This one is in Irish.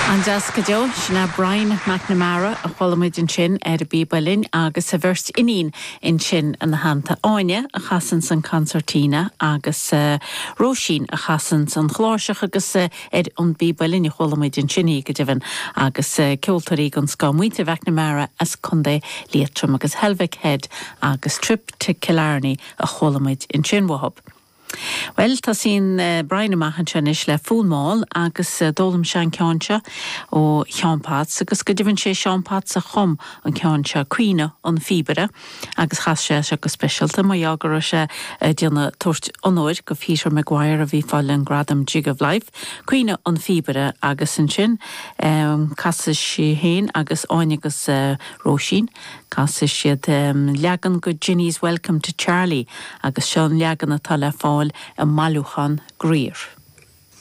An-deas go deo. Sin é Brian McNamara a chuala muid ansin ar an bpíob uilleann agus a bheirt iníon ansin ina theannta, Áine a chasanns an concertina agus Róisín a chasanns an chláirseach agus ar an bpíob uilleann a chuala muid ansin í go deimhin agus ceoltóirí den scoth, muintir McNamara as Contae Liatroim agus Helvick Head agus Trip to Killarney a chuala muid ansin uathub. Bhuel, tosaíonn Brian amach anseo anois le Fonn Mall agus d'fhoghlaim sé an ceann seo ó Sheán Potts agus go deimhin sé Seán Potts a chum an ceann seo, Caoineadh an Phíobaire, agus chas sé é seo go speisialta mar gheall go raibh sé ag déanamh, tabhairt onóir go Peter Maguire a bhí ag fáil an gradam Jig of Life, Caoineadh an Phíobaire agus ansin casfaidh sí féin agus Áine agus Róisín. Casfaidh siad leagan go Jenny's Welcome to Charlie agus seo an leagan atá le fáil i mbailiúchán Grier.